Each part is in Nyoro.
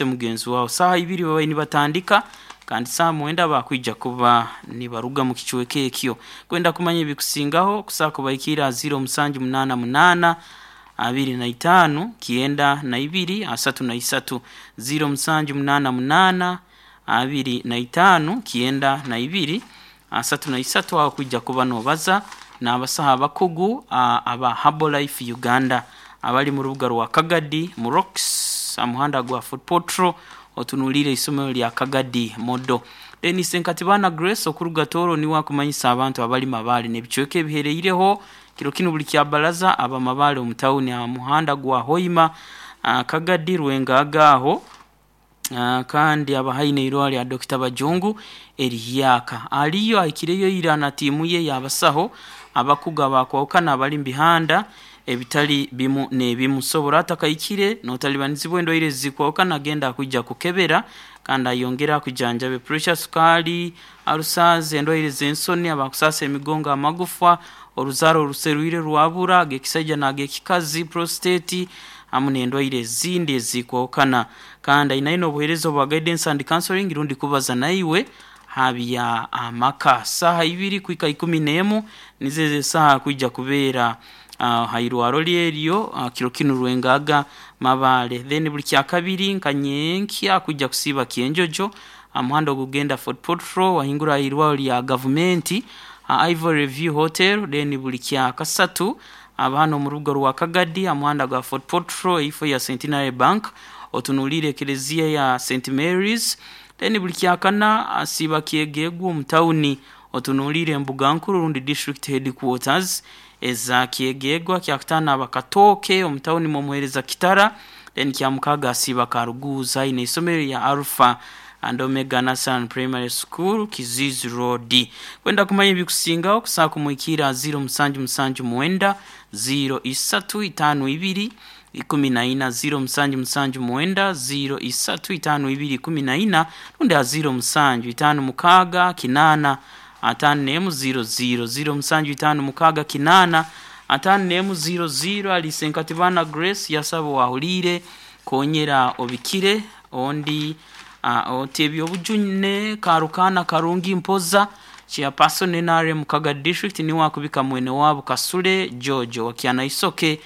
Mugenzi wawe saaha ibiri babaire nibatandika kandi saaha mwenda bakwija kuba nibaruga mu kicweka ekyo. Kwenda kumanya ebikusingaho kusobola kubahikiira ha 0788 25 92 33, 0788 25 92 33. Aho kwija kuba nobaza n'abasaho abakugu aba Herbalife Uganda abali mu rubuga rwa Kagadi mu Rocks aha muhanda gwa Fort Portal, otunuliire isomero lya Kagadi Model. Denis Nkatibana Grace okuruga Tooro niwe akumanyisa abantu abali Mabaale n'ebicweka ebihereireho kiro kinu buli kyabaraza aba Mabaale omu tawuni aha muhanda gwa Hoima, Kagadi, Rwengaga aho, kandi aba haihi n'eirwariro lya Dr. Bajungu erihyaka. Aliyo ahikireyo ira na tiimu ye y'abasaho abakugu abakwahukana abali mu bihanda ebitali bimu n'ebimu. Sobora atakahikire n'otalibanizibwa endwaire ezikwahukana, agenda akwija kukebera kandi ayongere akujanjabe pressure, sukaali, ulcers, endwaire z'ensoni, abakusaasa emigongo, amagufa, oruzaaro oruserwire rwabura, ag'ekisaija n'ag'ekikazi, prostate hamu n'endwaire ezindi ezikwahukana. Kandi ainayo n'obuheereza obwa guidance and counseling rundi kubaza naiwe ha bya amaka. Saaha ibiri kuhika 11 nizo ezo esaaha akwija kubeera ha irwaro rye eryo kiro kinu Rwengaga Mabaale. Then buli kyakabiri nka nyenkya akwija kusiiba Kyenjojo aha muhanda ogukugenda Fort Portal wahingura aha irwaro lya gavumenti ha Ivory View Hotel. Then buli kyakasatu aba hanu omu rubuga rwa Kagadi aha muhanda gwa Fort Portal eifo ya Centenary Bank otunuliire ekereziya ya St Mary's. Then buli kyakana asiiba Kyegegwa omu tawuni otunuliire embuga nkuru rundi district headquarters eza Kyegegwa. Kyakutaano aba Katooke omu tawuni mwomuheereza Kitara. Then kyamukaaga asiiba Karuguuzi haihi n'eisomero lya Alpha and Omega Nursery Primary School, Kiziizi Road. Kwenda kumanya ebikusingaho kusobola kumuhikiira ha 0779 03 52 14, 0779 03 52 14, rundi ha 0756 8 51 00, 0756 8 51 00. Alice Nkatibana Grace yasaba owahuliire konyera obikire ondi oti ebyobujune Karukaana Karungi Mpoza chairperson NRM Kagadi District niwe akubika mwene waabo Kasule George owa Kyanaisoke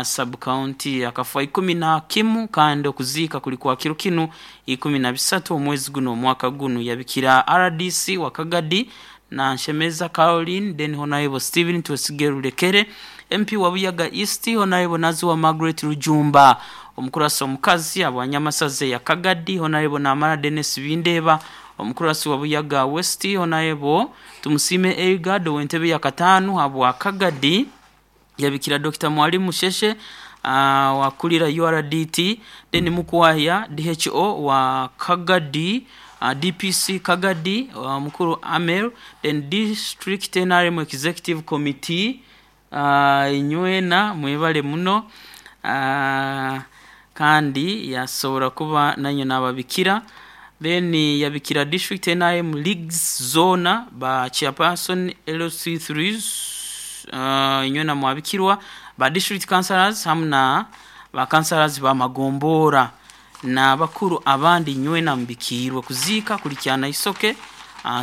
sub county akafa 11 kandi okuziika kuli kwa kiro kinu 13 omwezi guno omwaka gunu. Yabikira RDC wa Kagadi na Nshemeza Caroline, then Honorable Stephen Twesige Rulekere MP wa Buyaga East, Honorable Naziwa Margaret Rujumba omukurasi omukazi abwanyamasaza ya Kagadi, Honorable Namara Dennis Bindeba omukurasi wa Buyaga West, Honorable Tumusiime Elgard ow'entebe ya kataano habwa Kagadi. Yabikira Dr. Mwalimu Sheshe wakulira URDT, then Mukwaya DHO wa Kagadi, DPC Kagadi, mukuru Amel, then District NRM Executive Committee, inywena mwebale muno, kandi yasobora kuba nanyo nababikira. Then yabikira District NRM Leagues zona ba chairperson LC3s, inywena mwabikirwa ba district councillors hamu na ba councillors ba magombora n'abakuru abandi, inywena mubikiirwe. Kuziika kuli Kyanaisoke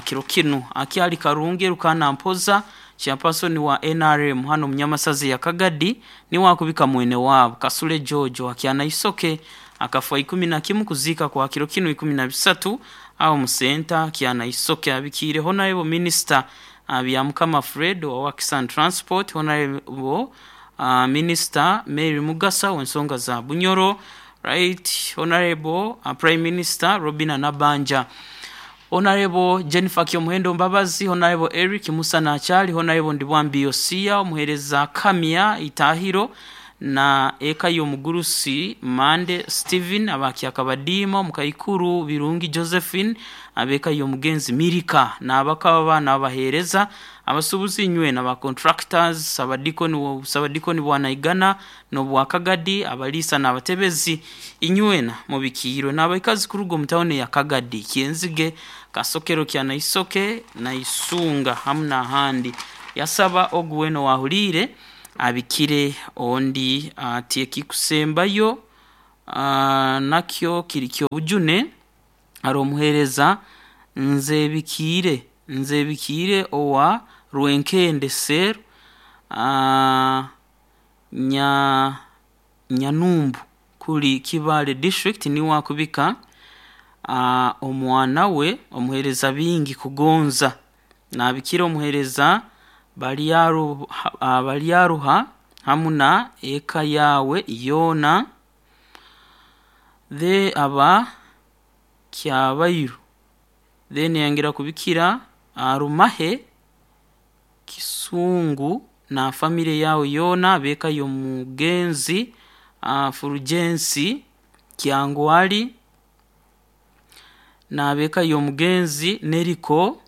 kiro kinu. Akyali Karungi Rukana Mpoza chairperson wa NRM hano munyamasaza ya Kagadi niwe akubika mwene waabo Kasule George wa Kyanaisoke akafa 11 kuziika kwa kiro kinu 13 aho musenta Kyanaisoke. Abikiire Honorable Minister Byamukama Fred wa Works and Transport, Honorable Minister Mary Mugasa w'ensonga za Bunyoro, Right Honorable Prime Minister Robina Nabanja, Honorable Jennifer Kyomuhendo Mbabazi, Honorable Eric Musa Nachali, Honorable Ndibwambi Yosia omuheereza Kamya Itahiro na eka y'omugurusi Mande Steven abakyakabadiima omukaikuru Birungi Josephine ab'eka y'omugenzi Mirika n'abakaba baana abaheereza abasuubuzi inywena ba contractors, abadikoni, sabadikoni bwa Naigana n'obwa Kagadi, abaliisa n'abatebezi, inywena mubikiirwe n'abaikazi kuruga omu tawuni ya Kagadi, Kyenzige, Kasokero, Kyanaisoke na Isunga hamu n'ahandi. Yasaba ogu weena owahuliire abikire ondi ati ekikusembayo. Nakyo kiri kyobujune. Hari omuheereza Nzebikiire, Nzebikiire owa Rwenkende Cell, Nyanumbu kuri Kibaale District, niwe akubika omwana we omuheereza Bingi Kugonza. Naabikira omuheereza Baryaruha hamu na eka yawe yoona. The aba Kyabairu. Then yayongera kubikira Rumahe Kisungu na famire yawe yoona, ab'eka y'omugenzi Fulgensi Kyangwali n'ab'eka y'omugenzi Neriko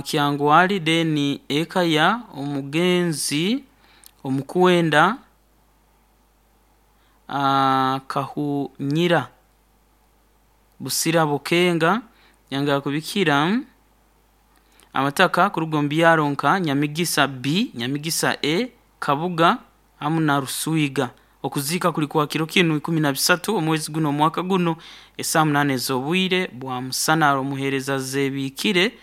Kyangwali, then eka ya omugenzi Omukwenda Kahunyira Busira Bukenga. Yongera kubikira abataka kuruga omu byaro nka Nyamigisa B, Nyamigisa A, Kabuga hamu na Ruswiga. Okuziika kuli kwa kiro kinu 13 omwezi guno omwaka guno esaaha 8 ez'obwire bwa musana. Omuheereza Zebiikire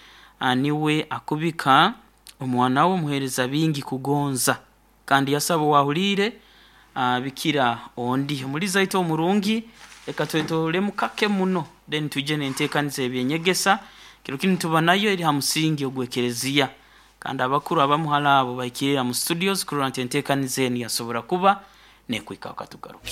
niwe akubika omwana we omuheereza Bingi Kugonza, kandi yasaba owaahuliire bikira ondi. Omulizi aitu omurungi, leka twetolemu kake muno then twije n'enteekaniza y'ebyenyegesa. Kiro kinu tuba nayo eri ha musingi ogw'ekereziya, kandi abakuru abamu hali abo bahikire mu studios kurora nti enteekaniza enu yasobora kuba nekwikaho. Katugaruke.